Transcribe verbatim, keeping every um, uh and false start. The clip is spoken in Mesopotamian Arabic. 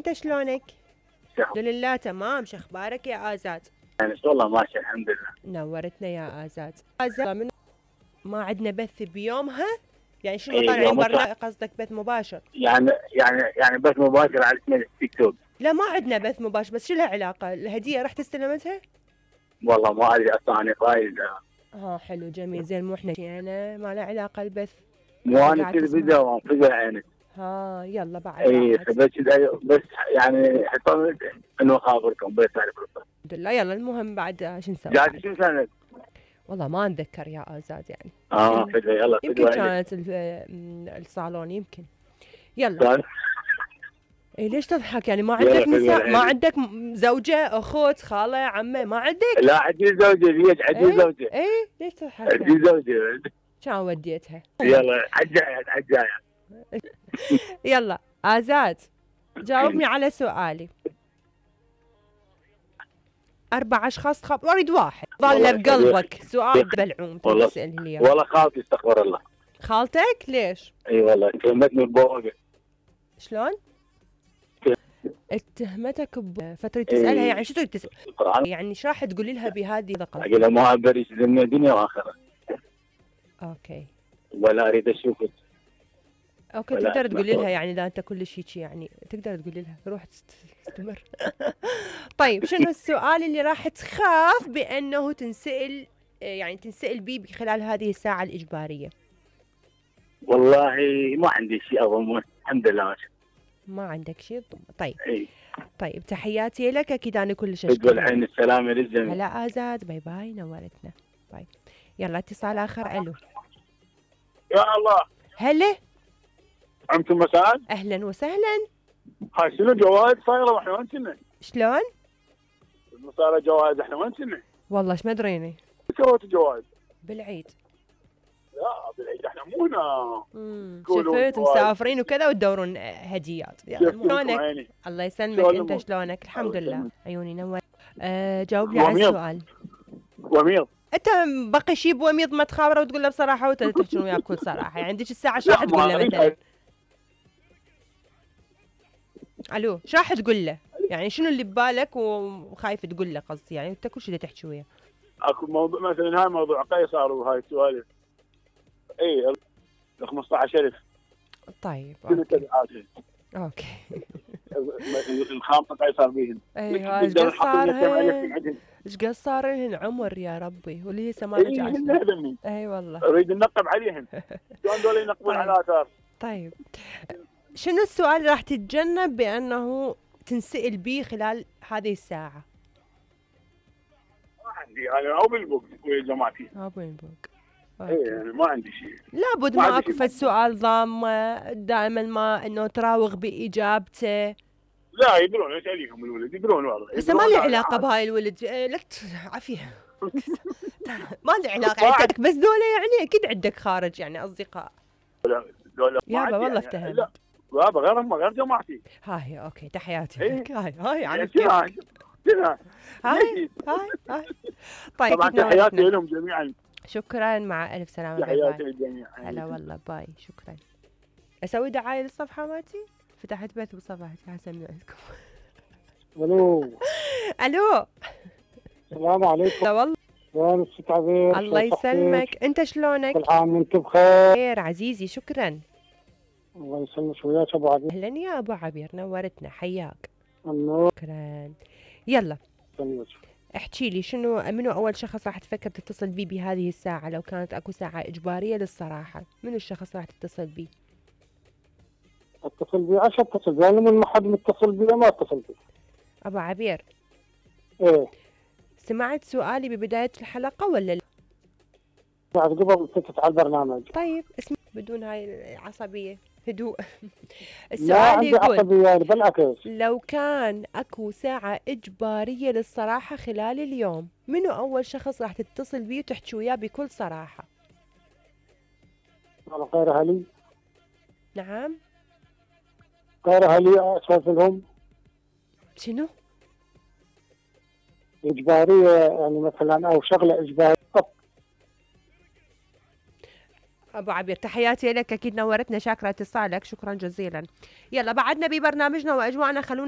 انت شلونك؟ الحمد لله تمام. شو اخبارك يا آزاد؟ يعني والله ماشي الحمد لله. نورتنا يا آزاد. آزاد من ما عندنا بث بيومها؟ يعني شنو إيه طالعين يوم برنامج قصدك بث مباشر؟ يعني يعني يعني بث مباشر على اسم التيك توك. لا ما عندنا بث مباشر، بس شو لها علاقة؟ الهدية رحت استلمتها؟ والله ما ادري اصلا انا فايز. اه حلو جميل زين. مو احنا انا ما له علاقة البث. مو انا قاعد كذا تسمع. فيديو وانفجر عينك. ها يلا بعد اي راحت. فبس بس يعني حطوا انه خابركم بس تعرف. الحمد لله. يلا المهم بعد شو نسوي؟ جاهز شو كانت؟ والله ما اتذكر يا آزاد يعني. اه فدوى يلا يمكن فدوى كانت ال- م- الصالون يمكن. يلا. اي ليش تضحك يعني؟ ما يلا عندك فدوى نساء؟ ما العيلة. عندك م- زوجة اخت خالة عمة ما عندك؟ لا عندي زوجة زيد عندي ايه زوجة ايه ليش تضحك يعني؟ عندي زوجة. كان وديتها. يلا عالجاية عالجاية. يلا آزاد جاوبني على سؤالي. أربع أشخاص تخاف؟ أريد واحد ظل والله بقلبك. سؤال بلعوم والله تسألني اليوم. والله خالتي استغفر الله. خالتك ليش؟ اي والله كلمتني ببوقة. شلون؟ اتهمتك بفترة تسألها يعني شو تريد تسأل؟ القرآن يعني ايش راح تقولي لها بهذه الثقة؟ اقول لها ما ابري دنيا دنيا واخرة اوكي ولا اريد اشوفك. اوكي ولا تقدر أسمع تقولي لها صوت. يعني اذا انت كلش هيك يعني تقدر تقولي لها روح تست- استمر. طيب شنو السؤال اللي راح تخاف بانه تنسأل يعني تنسأل بيه خلال هذه الساعة الإجبارية؟ والله ما عندي شيء اظن الحمد لله ماشي. ما عندك شيء؟ طيب اي طيب تحياتي لك. اكيد انا كلش تقول اشكرك. الحين السلامة للجميع. هلا آزاد باي باي نورتنا. باي. يلا اتصال اخر. الو يا الله هلا عمتم مساء. اهلا وسهلا. هاي شنو جوائز صايره واحنا وين كنا؟ شلون؟ صايره جوائز احنا وين كنا؟ والله ايش ما ادريني. سويتوا جوائز؟ بالعيد. لا بالعيد احنا مو هنا. امم قولوا شفت جوائز. مسافرين وكذا وتدورون هديات. يلا شفتوا شلونك؟ عيني. الله يسلمك. شلون انت الأمور؟ شلونك؟ الحمد الله لله. يسلمك. عيوني نور. أه جاوبني على وميض. السؤال. وميض. انت بقي شيء بوميض ما تخابره وتقول له بصراحه وتحكون وياه بكل صراحه يعني عندك الساعه ايش لا، راح ما تقول له أريد مثلا؟ الو ايش راح تقول له؟ يعني شنو اللي ببالك وخايف تقول له قصدي يعني انت كل شيء تحكي وياه. اكو موضوع مثلا هاي موضوع قيصر وهاي السوالف. اي ال خمسة عشر ألف طيب شنو اوكي تبعاتها؟ اوكي. الخامسة قيصر بيهن. ايوه ايش قد صار لهن؟ ايش قد صار لهن عمر يا ربي واللي هي ثمانية اي عشر. هن هذني. اي والله. اريد ننقب عليهن. شلون دول ينقبون طيب. على اثار؟ طيب شنو السؤال اللي راح تتجنب بانه تنسأل به خلال هذه الساعة؟ ما عندي انا او بالبوك ويا جماعتي. ابو ينبوك. اي يعني ما عندي شيء. لابد ما ما عندي اكو شيء. فد سؤال ضامة دائما ما انه تراوغ باجابته. لا يدرون ايش عليهم الولد يدرون والله. بس ما له علاقة بهاي الولد. إيه، لا عافية. ما له علاقة عندك بس دولة يعني اكيد عندك خارج يعني اصدقاء. يابا والله افتهمت. لا بابا غيرهم غير جماعتي. هاي اوكي تحياتي إيه؟ لك. هاي هاي عن يعني كيف. شنو شنو هاي هاي هاي. طيب طبعا أكيد تحياتي نورتنا. لهم جميعا. شكرا مع الف سلامة. باي تحياتي باي. للجميع. هلا والله باي. شكرا. اسوي دعاية للصفحة مالتي؟ فتحت بث بصفحتي حسمي عندكم. الو الو السلام عليكم. لا والله. وين الست عبير؟ الله يسلمك. انت شلونك؟ كل عام وانت بخير. خير عزيزي. شكرا. الله يسلمك وياك ابو عبير. اهلا يا ابو عبير نورتنا حياك. النور. شكرا. يلا يسلمك. احكي لي شنو منو اول شخص راح تفكر تتصل بيه بهذه الساعة لو كانت اكو ساعة اجبارية للصراحة؟ منو الشخص راح تتصل بيه؟ اتصل بي عشان اتصل بي انا من ما حد متصل بي ما اتصل بي. ابو عبير ايه سمعت سؤالي ببداية الحلقة ولا لا؟ بعد قبل فتت على البرنامج. طيب اسمع بدون هاي العصبية هدوء. ما السؤال عندي يقول عصبية يعني بالعكس. لو كان اكو ساعة اجبارية للصراحة خلال اليوم منو اول شخص راح تتصل بيه وتحكي وياه بكل صراحة؟ والله غير اهلي نعم. غير اهلي اسولف لهم. شنو؟ اجبارية يعني مثلا او شغلة اجبارية. ابو عبير تحياتي لك اكيد نورتنا. شاكرة اتصالك. شكرا جزيلا. يلا بعدنا ببرنامجنا واجواءنا. خلونا